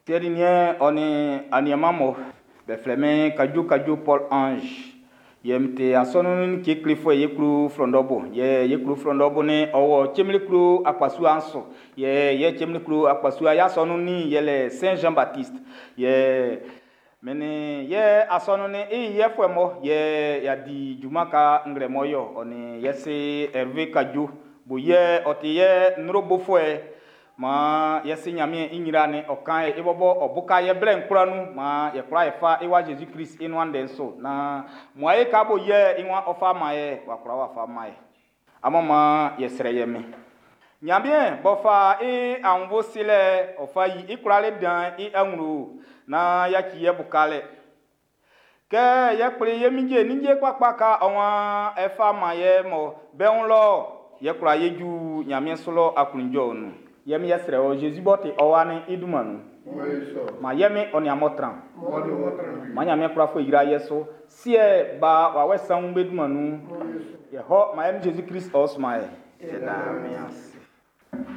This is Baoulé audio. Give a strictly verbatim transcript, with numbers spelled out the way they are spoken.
Siɛ nin niɛn ɔ nin aniɛnman mun, be flɛ min Kadjo Kadjo Paul Ange. Yɛ n ti asɔnun'n i klefuɛ ye klo Frɔndɔbo. Yɛ ye klo Frɔndɔbo ni ɔ wɔ Cemile akpasua'n su. Yɛ yɛ Cemile akpasua i asɔnun'n yɛlɛ Saint Jean Baptiste. Yɛ min nin yɛ asɔnun'n i yɛfuɛ mɔ yɛ y'a di junman ka nglɛmɔ yɔ ɔ nin yɛ se Hervé Kadjo bo yɛ ɔ ti yɛ ndro bofuɛ maan yɛ se Ɲanmiɛn i ɲra'n ɔ kan e bɔbɔ ɔ buka yɛ blɛ'n kwlaa nun maan yɛ kwla yɛ fa i wa Zezi Klist i nuan ndɛ'n su naan muae ka bo yɛ i waan ɔ fa man e w'a kwla w'a fa man e. Amun maan yɛ srɛ yɛ min. Ɲanmiɛn b'ɔ fa e aunnvuɛ silɛ ɔ fa yi i kwlalɛ dan'n i awlo naan yaci yɛ bukalɛ. Kɛ yɛ kpli ye minje ninnge kpakpa ka ɔ waan e fa man ye mɔ be wun lɔ yɛ kwla ye ju Ɲanmiɛn su lɔ aklunjɔɛ'n nun. Yɛ mi yɛ srɛ ɔ Zezi b'ɔ ti ɔ wa'n i dunman nun. Ma yɛ mi ɔ nin amun tran. Ma Ɲanmiɛn kwla fo yra yɛ so. Siɛ ba wawɛ sanwun be dunman nun. Yɛ hɔ ma yɛ mi Zezi Klist ɔ suma yɛ. Yɛ daa mi ase.